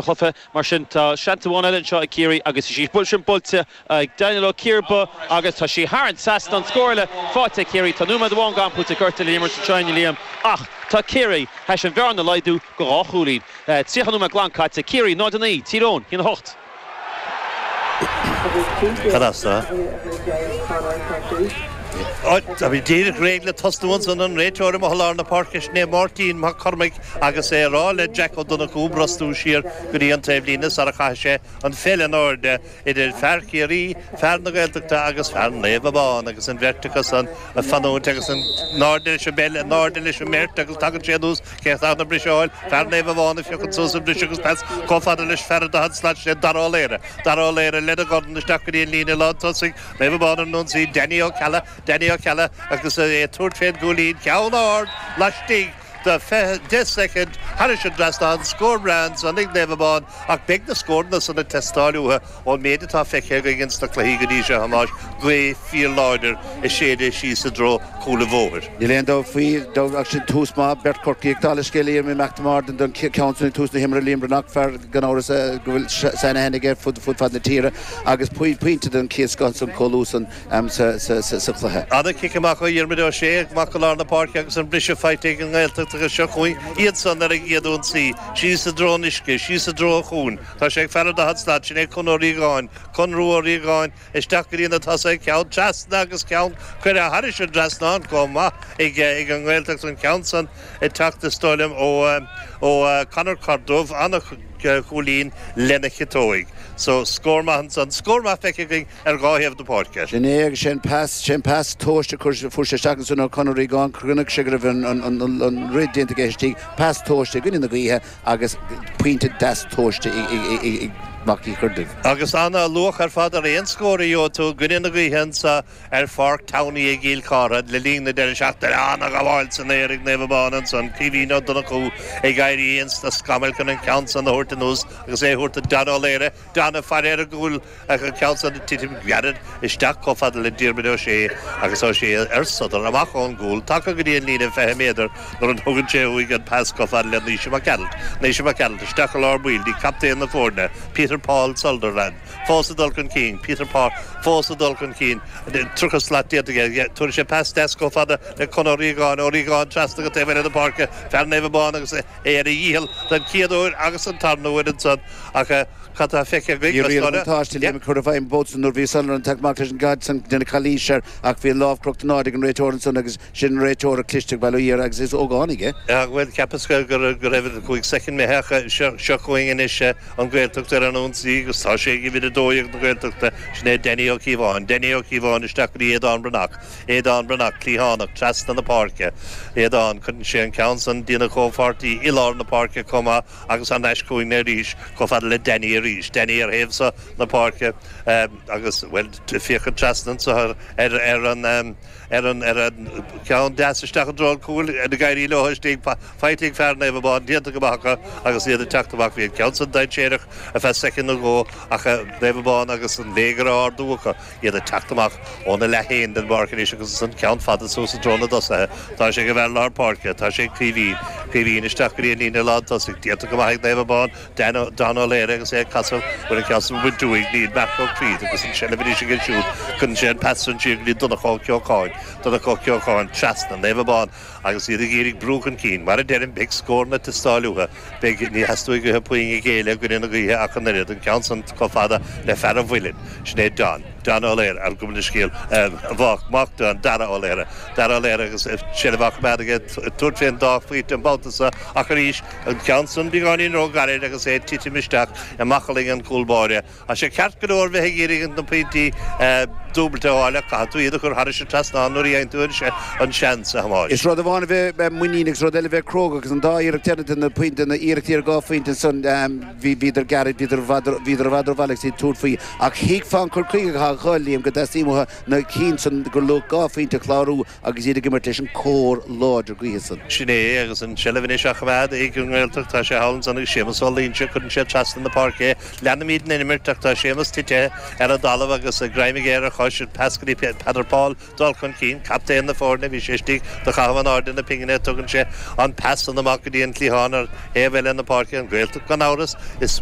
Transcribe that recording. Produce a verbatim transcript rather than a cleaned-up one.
chluiche mar sin tá seans amháin eile anseo ag Ciarraí agus sí buil sin buailte ag Daniel Ó Ciarba agus tá sí thar an trasnán scór eile faighte Ciarraí tá nóiméad amháin gan pointe gorta le imirt anseo Liam ach tá Ciarraí théis an bhearna a laghdú go dhá chúilín. Tríocha nóiméad glan caite Ciarraí náid a naoi Tír Eoghain a hocht. Cad as Tá bhí díreach réidh le tosnú ansan an réiteoir i lár na páirce sin é Máirtín Mac Cormaic agus é rá le Jack Ó Donnchú brostú siar go dtí an taobhlíne sara chaith sé an pheil in airde idir fear Chiarraí, fear na Gaeltachta agus fear Naomh Abán agus an bheirt acu san ag fanúint agus in airde leis an bpeil in airde leis an mbeirt agus tagann sé anuas cé tá na briseáil fear Naomh Abán a phiocann suas an briseadh agus pas chomh fada leis fear an daichead slat sé Dara Ó Laoire. Dara Ó Laoire lena dhorn isteach go dtí an líne lántosaigh Naomh Abán an ionsaí Danny Ó Ceallaigh Danny Ó Ceallaigh agus é tabhairt fén gcúilín ceann ard laistigh de deich soicind thairis an trasnán scór breá ansan ag Naomh Abán ach beidh na scóranna san ag teastáil uathu ón méid atá feicthe againn ins na cluichí go dtí seo a Thomáis gaoth fíorláidir ag séideadh síos i dtreo cúl an bhóthair. Níl aon dabht faoi ach sin tús maith beirt Corcaigh ag dála scéil mé McNamara don ceann san tús na himeartha Liam Breathnach fear gan amhras go bhfuil sainaithne aige fud fud fad na tíre agus pointe den chéad scoth san chomh luath san sa chluiche. Ana cic amach ó Dhiarmuid Ó Sé amach go lár na páirce agus an briseadh faighte ag an nGaeltacht agus seo chugainn iad san ar a gcéad ionsaí, síos i dtreo an uisce, síos i dtreo an chuain. Tá sé ag fear an daichead slat sin é Con Ó Riagáin, Con Rua Ó Riagáin isteach go dtí na tosaithe ceann trasna agus ceann curtha thairis an trasnán chomh maith ag ag an nGaeltacht an ceann san ag teacht is dóigh liom ó ó Conor Cordubh ana chúilín lena chiotóig. So scór maith an scór maith feicthe againn ar dhá thaobh na páirce. Sin é agus sin pas sin pas tomhaiste fuair sé isteach san ó Conor Riagáin chonaic sé go raibh an rith déanta aige istigh pas tomhaiste i gcoinne na gaoithe agus pointe deas tomhaiste ag Mac Uí Churdaimh. Agus ana luach ar fad ar aon scór a gheobhaidh tú i gcoinne na gaoithe anso ar Pháirc Towney i gCill Chartha le linn na deireadh seachtaine ana ghabháil san aer ag Naomh Abán ansan Caoimhín Ó Donnchú ag éirí ins na scamaill chun an ceann san a thabhairt anuas agus é thabhairt do Dan Ó Laoire Dan ag faire ar an gcúl an ceann san titim ghearr isteach chomh fada le Diarmuid Ó Sé agus Ó Sé ar sodar amach ón gcúl tagtha go dtí an líne fiche méadar nuair a thugann sé uaidh an pas chomh fada le Naoise Mac Gearailt Naoise Mac Gearailt isteach i lár baill dtí captaen na foirne Peter Paul Sunderland fós ag dul chun cinn Peter Paul fós ag dul chun cinn tríocha slat déanta tugann sé pas deas chomh fada le Con Ó Riagáin Ó Riagáin trasna go taobh na páirce fear Naomh Abán agus é ar a dhícheall den chéad uair agus an tarna huair ansan ach cad tá feicthe Táiste le chur bheith bó nuair bhí Sunderland teacht amach leis an gcaid san déanamh calaois air ach bhí lámh crochta in airde ag an réiteoir ansan agus sin réiteoir cliste bail ó Dhia air agus is ógánaigh é. Bhuel cheapas go go raibh cúig soicind imithe seo chugainn anois an Ghaeltacht ar an ionsaí agus tá sé ag uimhir a dó dhéag na Gaeltachta sin é Danny Ó Cíobháin, Danny Ó Cíobháin isteach go dtí Aodán Breathnach, Aodán Breathnach cliathánach trasna na páirce. Aodán cuireann sé an ceann san dtína chomhpháirtí i lár na páirce chomh maith agus an ais chugainn arís chomh fada le Danny arís. Danny ar thaobh seo na páirce agus well féachaint trasna anseo ar ar an ar an ar an ceann deas isteach i dtreo an chúil ag éirí leo istigh faighte ag fear Naomh Abán déanta go maith acu agus iad ag teacht amach bhí an ceann san dainséarach ar feadh soicind nó dhó ach Naomh Abán agus an léigear á ardú acu iad ag teacht amach óna leath féin den bpáirc anois agus an ceann fada suas i dtreo na dtosaithe Tá sé go bhfear lár páirce tá sé Caoimhín Caoimhín isteach go dtí an líne lántosaigh déanta go maith ag Naomh Abán Dan Ó Laoire agus é ag casadh bhfuil an ceann san bainte uaidh níl Marc Ó Creed agus an seilbh anois aige siúd cuireann sé an pas san siar go dtí Donncha Ó Ceocháin Donncha Ó Ceocháin trasna Naomh Abán agus iad ag iarraidh brú chun cinn mar a deirim beidh scóranna ag teastáil uathu beidh ní theastóidh uathu puinn a ghéilleadh i gcoinne na gaoithe ach an oiread an ceann san chomh fada le fear an Mhuilinn sin é Don Don Ó Laoire ar go scéal bhách mac Don Dara Ó Laoire Dara Ó Laoire agus seilbh á choimeád aige tabhairt fén dá phointe an babhta seo ach arís an ceann san beagáinín róghairid agus é titim isteach i mbacallaí an chúl báire Tá sé ceart go leor bheith ag iarraidh na pointí dúbailte a fháil ach caithfidh tú iad a chur thairis an trasnán nuair a dhéanann tú an seans a Thomáis. Is rud amháin a bheith muiníneach agus rud eile bheith cróga agus an dá iarracht déanta na pointe na iarrachtaí ar dhá phointe san bhí bhíodar gairid bhíodar bhíodar i bhfad rómhall agus iad tabhairt faoi ach thuigfeá an cur chuige atá acu Liam go dteastaíonn uathu na cinn san gur luach dhá phointe a chlárú agus iad ag imirt leis an cóir láidir gaoithe san. Sin é agus an seilbh anois á choimeád ag an nGaeltacht tá sé thall ansan ag Séamus Ó Loingsigh cuireann sé trasna na páirce leanaimid an imirt ach tá Séamus tite ar an dtalamh agus greim aige ar a chois Tá sin pas go dtí Peadar Paul dul chun cinn, captaen na foirne bhí sé istigh do chaitheamh in airde na pingine tugann sé an pas an amach go dtí an cliathán ar thaobh eile na páirce an Ghaeltacht gan amhras is